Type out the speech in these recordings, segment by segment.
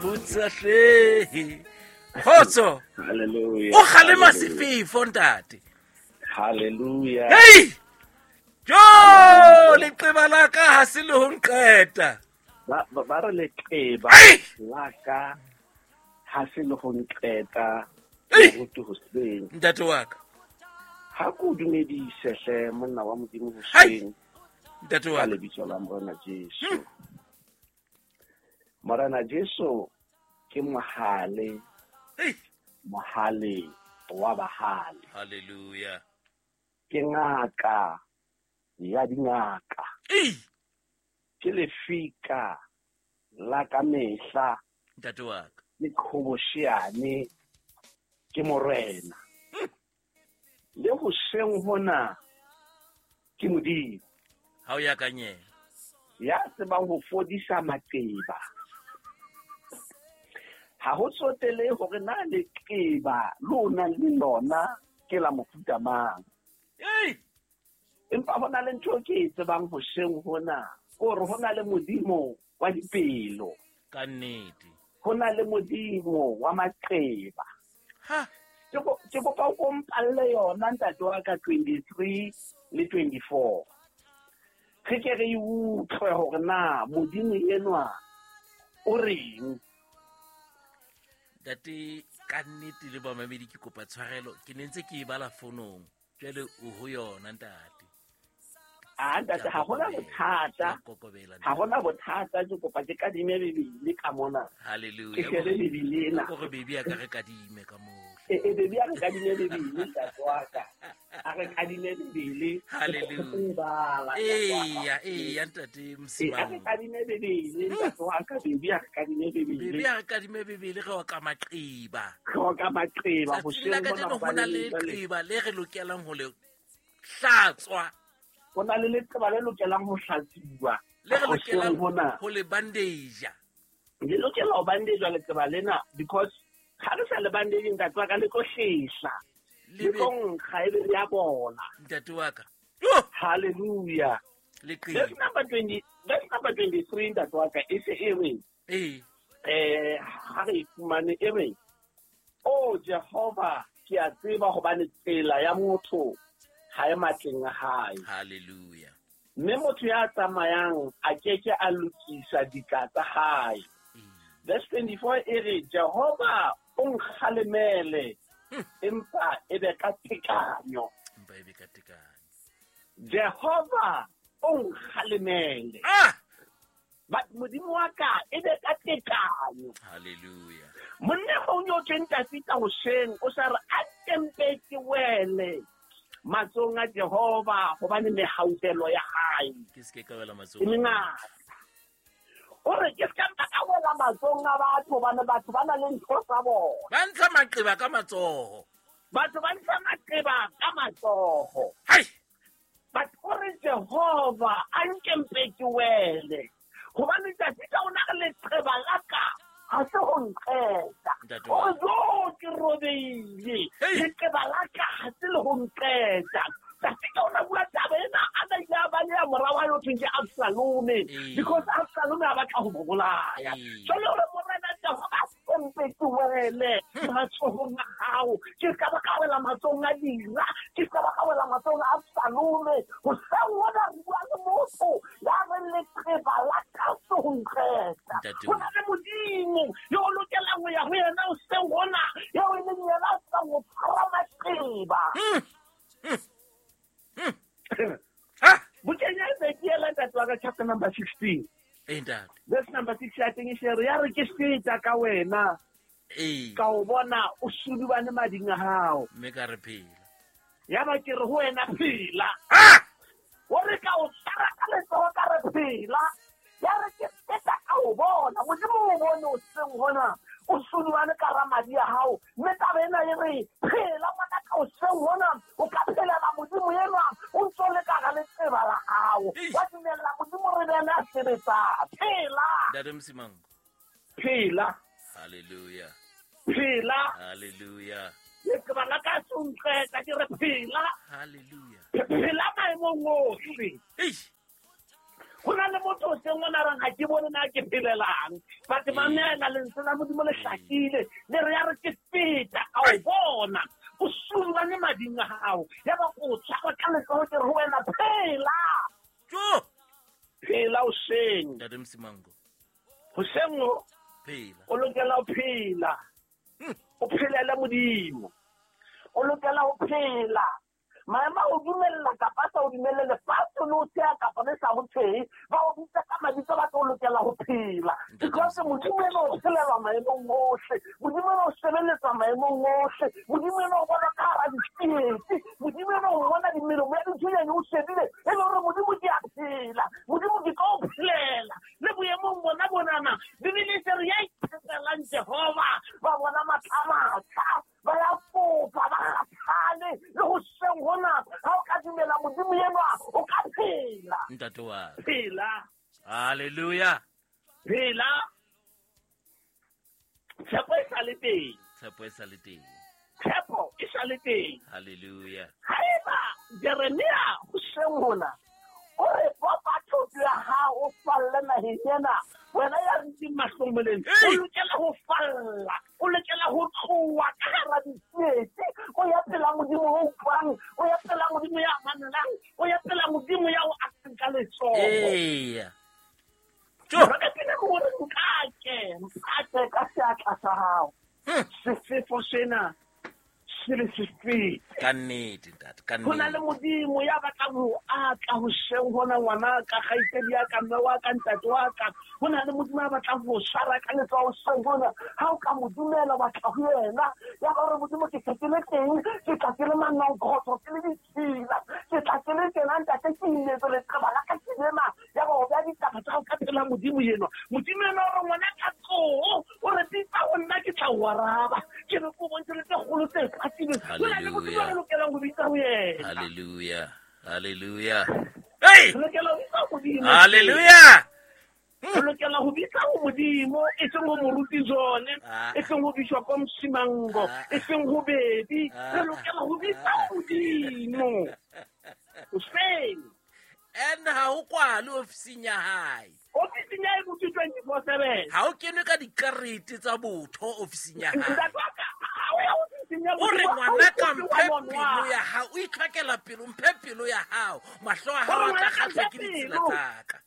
Botsa hle. Kgotso. Hallelujah. O kgalema sefefo ntate. Hallelujah. Hey! Jo, leqeba la ka ha se le ho nqeta. Ba re leqeba Ai! la ka ha se le ho nqeta Ei! moruti hoseng. Ntate wa ka. Ha ko dumedise hle monna wa Modimo Hai! hoseng Ntate wa ka ka. lebitso la Morena Jesu. Morena Jesu ke mohale, Hey! mohale wa bahale. Hallelujah. Ke ngaka ya dingaka. Ei! Ke lefika la ka mehla Ntate wa ka. le qhobosheane ke morena. Le hoseng hona ke Modimo Ha o ya ka nyela. ya tsebang ho fodisa maqeba. Ha ho tsotelehe hore na leqeba le o nang le lona ke la mofuta mang. Ei! Empa ho na le ntho e ke e tsebang hoseng hona, ke hore ho na le Modimo wa dipelo, Ka nnete. ho na le Modimo wa maqeba. Ha! Ke kopa o ko mpalle yona ntate wa ka 23 le 24. Re ke re e utlwe hore na Modimo enwa o reng. Ntate ka nnete le bamamedi ke kopa tshwarelo ke ne ntse ke e bala fonong jwale o ho yona ntate. Ah ntate, ha hona bothata. Ke a kokobela Ha hona bothata, ke kopa ke kadime Bibele ka mona. Ke Hallelujah. shebe Bibele ena. Ko re baby a ka re kadime ka moo. E baby a re kadime Bibele ntate wa ka. A re kadime Bibele. Hallelujah. Ke e bala, ntate wa ka. Eya, eya ntate Ee, a re Msimang. kadime Bibele ntate wa ka, baby a re kadime Bebe Bibele. a re kadime Bibele re oka maqeba. Re oka maqeba Tsatsing hoseng la hona kajeno ho hobane na le jwale leqeba le re lokelang ho le hlatswa. Ho na le leqeba le lokelang ho hlatsuwa Le re hoseng lokelang hona. ho le bandage. Le lokela ho bandage leqeba lena because ha re sa le bandage ntate wa ka le tlo hlehla. Le Le be tlo nkga ebe le a bola. ntate wa ka. Yo, Hallelujah. leqeba. Verse number 20, verse number 23 ntate wa ka e se e re Ee. ha re e fumane e re o Jehova ke a tseba hobane tsela ya motho ha e matleng a hae. Hallelujah. Mme motho ya tsamayang a keke a lokisa ditla tsa hae. Ee. Verse 24 e re Jehova o nkgalemele empa e be ka tekanyo. Empa e be ka tekanyo. Jehova o nkgalemele. Ah! But Modimo wa ka e be ka tekanyo. Hallelujah. Monna o nyotse Dafita hoseng o sa re a tempe ke wele matsohong a Jehova hobane mehautelo ya hae Ke se ke ka wela e matsohong a motho. mengata. O re ke ska mpa ka wela matsohong a batho hobane batho ba na le ntho tsa bona. Ba ntsha maqeba ka matsoho. Batho ba ntsha maqeba ka matsoho. Hai! But o re Jehova a nke mpe ke wele hobane Dafita o na re leqeba la ka ha se ho nqeta. Ntate O wa re ka. jo ke robehile. Hei! Leqeba la ka ha se le ho nqeta. Dafita o na bua taba ena a na ile a baleha mora wa hae ho thweng ke Absalome Ee. because Absalome a batla ho mo bolaya. Ee. Jwale o re Morena Jehova a mpe ke wele matsohong a hao. Ke ska ba ka wela matsohong a dira, ke ska ba ka wela matsohong a Absalome. Hoseng hona re bua le motho ya reng leqeba la ka se ho nqeta. Ntate Ho na le Modimo yo o lokelang ho ya ho yena hoseng hona, eo e leng yena a tsebang ho tshwara maqeba. Ha! Bukeng ya Ezekiel ntate wa ka chapter number 16. Ee ntate. Verse number 6 ya teng e se re ya re ke feta ka wena Ee. ka o bona o sudubane mading a hao. Mme ka re phela. Ya ba ke re ho wena phela. Ah! O re ka o tshwara ka letsoho ka re phela. Ya re ke feta ka o bona. Modimo o bone o seng hona. O sudubane ka ra madi a hao. Mme taba ena e re phela ngwana ka o seng hona. O ka phelela Modimo enwa o ntso le ka ga letseba la hao. Eish. Wa dumella Modimo re be yena a sebetsang. Phela. Ntate Msimango. Phela. Hallelujah. Phela. Hallelujah. Leqeba la ka se o nqeta ke re phela. Hallelujah. Phela maemong ohle. Eish! Go na le motho o seng o na reng ga ke bone na ke phelelang, but mamela lentswe la Modimo le hlakile, le re ya re ke feta ka o bona o sulwane mading a gago, ya ba ko tshwara ka letsogo ke re ho wena phela. Jo! Phela o seng. Ntate Msimango. Hoseng o Phela. O lokela ho phela. O phelele Modimo. O lokela ho phela. Maemo a o dumella kapa a sa o dumelle, lefatshe le o tsheha kapa le sa ho tshehe, ba o bitsa ka mabitso, ba tlo lokela ho phela. Because Modimo ena o phelelwa maemong ohle, Modimo ena o sebeletswa maemong ohle, Modimo ena o bona ka hara ditsietsi, Modimo ena o bona dimelomo ya dithunyane o shebile, e le hore Modimo ke a phela, Modimo ke tlo o phelela. Le boemong bona bonana, Bibele e se re ya itshepelang Jehova, ba bona matla a matjha, ba ya fofa, ba kgathale, le ho seng hona, ha o ka dumela Modimo enwa, o ka phela. Ntate wa ka. Phela. Hallelujah. Phela. Tshepo e sa le teng. Tshepo e sa le teng. Tshepo e sa le teng. Hallelujah. Haeba Jeremia ho seng hona, o re bopa thoto ya hao o falle naheng ena, wena ya dutseng mahlomoleng, o lokela ho falla, o lokela ho tloha ka hara ditsietsi, o ya pela Modimo o utlwang, o ya pela Modimo ya mamelang, o ya pela Modimo ya o akang ka letsoho. Eya. Jo! Re pele hore nkake, mpate ka seatla sa hao. Sefefo sena se le se fete. Ka nnete, ntate, ka Ho na le nnete. Modimo ya batlang ho atla hoseng hona, ngwana ka, kgaitsedi ya ka, mme wa ka, ntate wa ka. Ho na le Modimo ya batlang ho tshwara ka letsoho hoseng hona. Ha o ka mo dumela, wa tla ho yena. Ya ba hore Modimo ke se ke le teng, ke tla ke le manonkgotho, ke le ditshila, ke tla ke le tena, ntate, ke imetse leqeba la ka ke lena. Ya ba o beha ditaba tsa hao ka pela Modimo enwa. Modimo enwa o re ngwana ka tsoho, o re bitsa ho nna ke tla o araba. Ke re ko bontshe le tse kgolo tse patilweng. Ho na le Modimo Hallelujah. re lokelang ho bitsa ho yena. Hallelujah. Hallelujah. Hey! Re lokela ho bitsa ho Modimo. Hallelujah. Re lokela ho bitsa ho Modimo, e seng ho moruti Jone, e seng ho Bishop Msimango, e seng ho Baby. Re lokela ho bitsa ho Modimo. Hoseng. And ha ho kwale ofising ya hae. Ofising ya hae botho 24/7. Ha o kenwe ka dikarete tsa botho ofising ya hae. Ntate wa ka, ha o ya ofising ya O re Modimo, ha o ngwana ka kope mphe wa nwa. pelo ya hao, o itlhokela pelo, mphe pelo ya hao. Mahlo a hao O re a tla ngwana ka kgahlwa mphe ke ditsela pelo. tsa ka.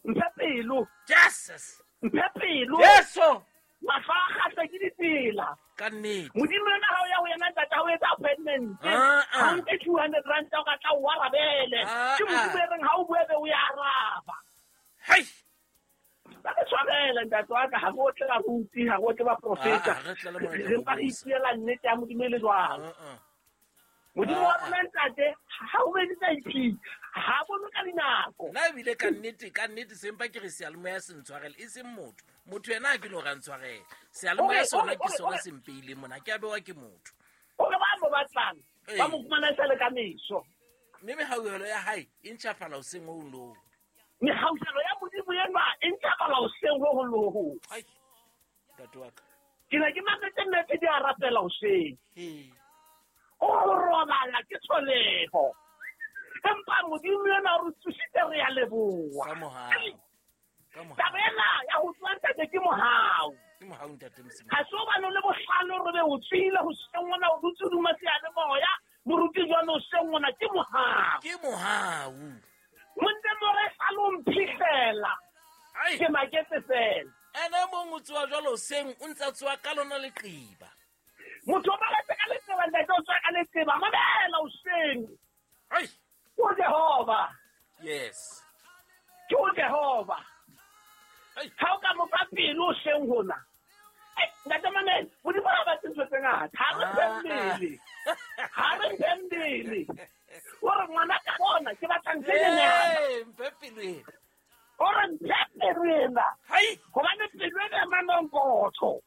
Mphe pelo. Jesus. Mphe pelo. Jesu. Mahlo a kgahlwa ke ditsela. Ka nnete. Modimo ena ha o ya ho yena ntate, ha o etsa appointment. Ha o nke 200 rand o ka tla o arabele. Ke Modimo e reng ha o bue be o ya araba. Hei. Ba re tshwarele ntate wa ka, ha re otle baruti, ha re otle baprofeta. Re tle le Morena Re mpa re Bobosa. ipuela nnete ya Modimo e le jwalo. Modimo wa rona ntate, ha o bedisa IP, ha bone ka dinako. Nna ebile ka nnete, ka nnete sempa ke re seyalemoya se ntshwarele, e seng motho. Motho yena ha ke no ra ntshwarela. Seyalemoya sona ke sona se mpeileng mona, ke a bewa ke motho. O re ba mo batlang, ba mo fumana e sa le ka meso. Mme mehauhelo ya hae e ntjhafala hoseng ho hong le ho hong. Mehauhelo ya Modimo enwa e ntjhafala hoseng ho hong le ho hong. Ai, ntate wa ka. Ke ne ke mametse nnete di a rapela hoseng. Ee. O robala ke tsholeho. Empa Modimo enwa o re tsositse re a leboha. Ka mohau. Ka mohau. Taba ena ya ho tsoha ntate ke mohau. Ke mohau ntate Mosimango. Ha se hobane o le bohlale hore be o tswile hoseng hona, o dutse hodima seyalemoya, moruti jwale hoseng hona, ke mohau. Ke mohau. Monte more sa lo mphihlela. Ai. Ke maketse fela. Ene e mong o tsoha jwalo hoseng, o ntse a tsoha ka lona leqeba. Motho o maketse ka leqeba, ntate o tsoha ka leqeba. Mamela hoseng. Ai. Ke o Jehova. Yes. Ke o Jehova. Ai. Ha o ka mo fa pelo hoseng hona. Ai, ntate Mamela, Modimo ha batle ntho tse ngata. Ha re mphe mmele. Ha re mphe mmele. O re ngwana ka bona, ke batla ntho e nyenyane. Ee, mphe pelo ena. O re mphe pelo ena. Hai. Hobane pelo ena e manonkotho.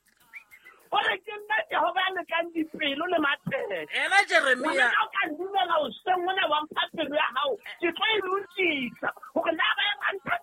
O re ke nna Jehova ya lekang dipelo le matheka. Ena Jeremia. Ngwana ka o ka ndumela hoseng hona wa mpha pelo ya hao, ke tlo e lokisa. Hore na ba e ranta